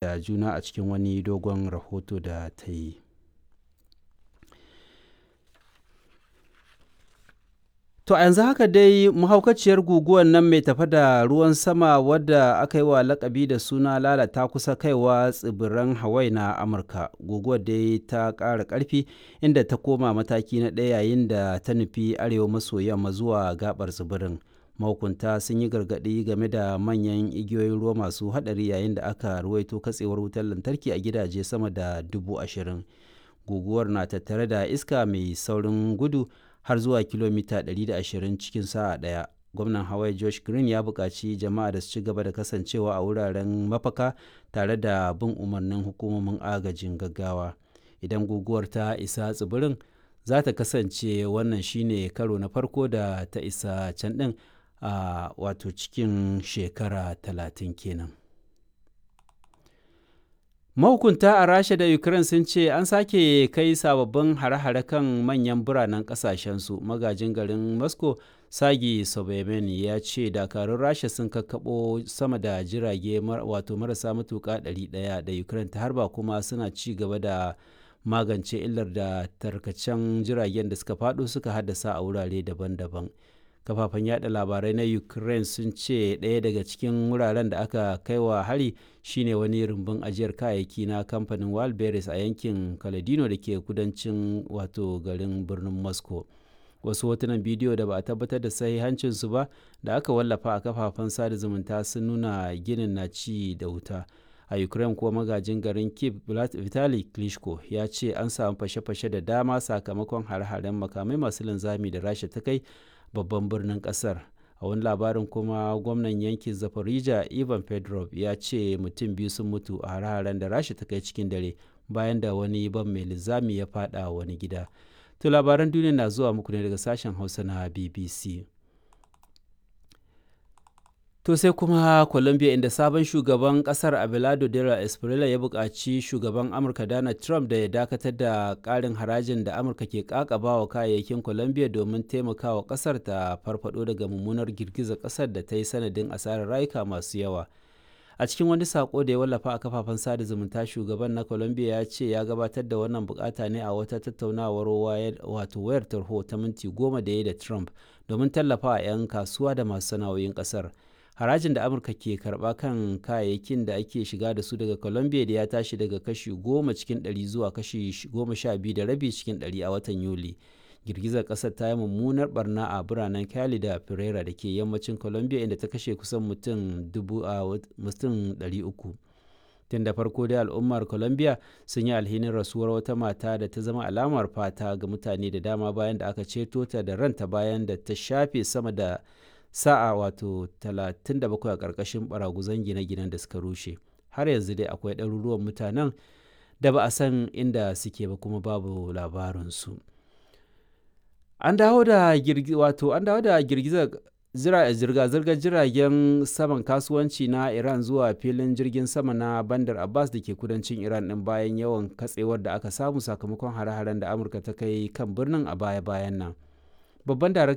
Da juna a cikin wani dogon rahoto da ta yi. To a yanzu haka dai mahaukaciyar guguwar nan mai tafe da ruwan sama wadda aka yi wa lakabi da suna Lala ta kusa kaiwa tsibiran Hawaii na Amurka. Guguwar dai ta ƙara ƙarfi inda ta koma mataki na ɗaya yayin da ta nufi arewa maso yamma zuwa gaɓar tsibirin. Mahukunta sun yi gargaɗi game da manyan igiyoyin ruwa masu haɗari yayin da aka ruwaito katsewar wutar lantarki a gidaje sama da 20,000. Guguwar na tattare da iska mai saurin gudu har zuwa kilomita 120 cikin sa'a ɗaya. Gwamnan Hawaii Josh Green ya buƙaci jama'a da su ci gaba da kasancewa a wuraren mafaka tare da bin umarnin hukumomin agajin gaggawa. Idan guguwar ta isa tsibirin, za ta kasance wannan shine karo na farko da ta isa can ɗin a wato cikin shekara 30 kenan. Mahukunta a Rasha da Ukraine sun ce an sake kai sababbin hare-hare kan manyan biranen kasashensu. Magajin garin Moscow, Sergei Sobyanin ya ce dakarun Rasha sun kakkaɓo sama da jirage wato marasa matuƙa 100 da Ukraine ta harba kuma suna ci gaba da magance illar da tarkacen jiragen da suka faɗo suka haddasa a wurare daban-daban. Kafafen yada labarai na Ukraine sun ce ɗaya daga cikin wuraren da aka kaiwa hari shine wani rumbun ajiyar kayayyaki na kamfanin Wildberries a yankin Kaladino da ke kudancin wato garin birnin Moscow. Wasu hotunan bidiyo da ba a tabbatar da sahihancinsu ba da aka wallafa a kafafen sada zumunta sun nuna ginin na ci da wuta. A Ukraine kuwa, magajin garin Kiev Vitali Klitschko ya ce an samu fashe-fashe da dama sakamakon hare-haren makamai masu linzami da Rasha ta kai babban birnin kasar. A wani labarin kuma, gwamnan yankin Zaporizhia Ivan Fedorov ya ce mutum biyu sun mutu a hare-haren da Rasha ta kai cikin dare bayan da wani bam mai linzami ya fada wani gida. To labaran duniya na zuwa muku ne daga sashen Hausa na BBC. To sai kuma Colombia, inda sabon shugaban kasar Abelardo Dela Espriella ya buƙaci shugaban Amurka Donald Trump da ya dakatar da ƙarin harajin da Amurka ke ƙaƙabawa kayayyakin Colombia domin taimakawa ƙasar ta farfado daga mummunar girgizar ƙasar da ta yi sanadin asarar rayuka masu yawa. A cikin wani sako da ya wallafa a kafafen sada zumunta, shugaban na Colombia ya ce ya gabatar da wannan bukata ne a wata tattaunawar wato wayar tarho ta minti 10 da ya da Trump domin tallafa 'yan kasuwa da masu sana'o'in ƙasar. Harajin da Amurka ke karba kan kayayyakin da ake shiga da su daga Colombia da ya tashi daga kashi 10% zuwa kashi 12.5% a watan Yuli. Girgizar kasar ta yi mummunar barna a biranen Cali da Pereira da ke yammacin Colombia, inda ta kashe kusan mutum 300. Tun da farko dai al'ummar Colombia sun yi alhinin rasuwar wata mata da ta zama alamar fata ga mutane da dama bayan da aka ceto ta da ranta bayan da ta shafe sama da sa'a wato 37 a ƙarƙashin baraguzan gine-ginen da suka rushe. Har yanzu dai akwai ɗaruruwan mutanen da ba a san inda suke ba kuma babu labarinsu. An dawo da wato an dawo da girgizar zirga-zirgar jiragen saman kasuwanci na Iran zuwa filin jirgin sama na Bandar Abbas da ke kudancin Iran din bayan yawan katsewar da aka samu sakamakon hare-haren da Amurka ta kai kan birnin a baya-bayan nan. Babban daraktan